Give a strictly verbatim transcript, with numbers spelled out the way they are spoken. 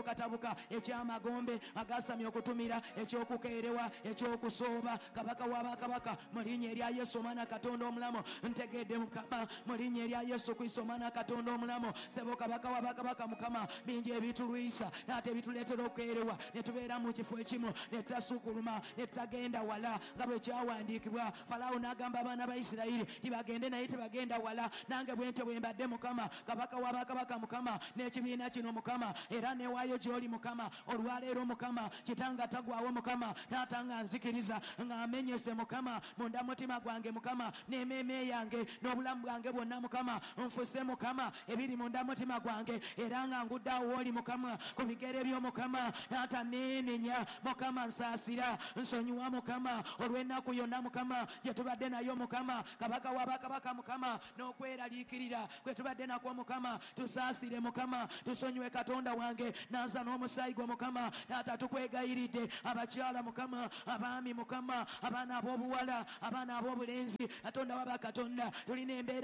Katabuka ekyamagombe agasamye okutumira ekyokukeerewa ekyokusooba kabaka w'abakabaka mu linnya erya Yesu omwana Katonda omulamu ntegedde Mukama mu linnya erya Yesu Kristo omwana Katonda omulamu sebo kabaka w'abakabaka Mukama bingi ebitulwisa n'ate ebituleetera okukeerewa ne tubeera mu kifo ekimu ne tutasukuluma ne tutagenda wala nga bwe kyawandiikibwa. Falaawo n'agamba abaana ba Isirayiri tibagende naye tebagenda wala. Nange bwe ntyo bwe mbadde Mukama kabaka w'abakabaka Mukama n'ekibiina kino Mukama era newaayo gy'oli Mukama olwaleero Mukama kitanga tagwawo Mukama taata nga nzikiriza nga amenyese Mukama munda mutima gwange Mukama n'emmeeme yange n'obulamu bwange bwonna Mukama nfuse Mukama ebiri munda mutima gwange era nga ngudde awo w'oli Mukama ku bigere byo Mukama taata neenenya Mukama nsaasira nsonyiwa Mukama olw'ennaku yonna Mukama gye tubadde nayo Mukama kabaka w'abakabaka Mukama n'okweraliikirira kwe tubadde nakwo Mukama tusaasire Mukama tusonyiwe Katonda wange naza n'omusaayi gwo Mukama taata tukwegayiridde abakyala Mukama abaami Mukama abaana ab'obuwala abaana ab'obulenzi Katonda waba Katonda tulina embeera.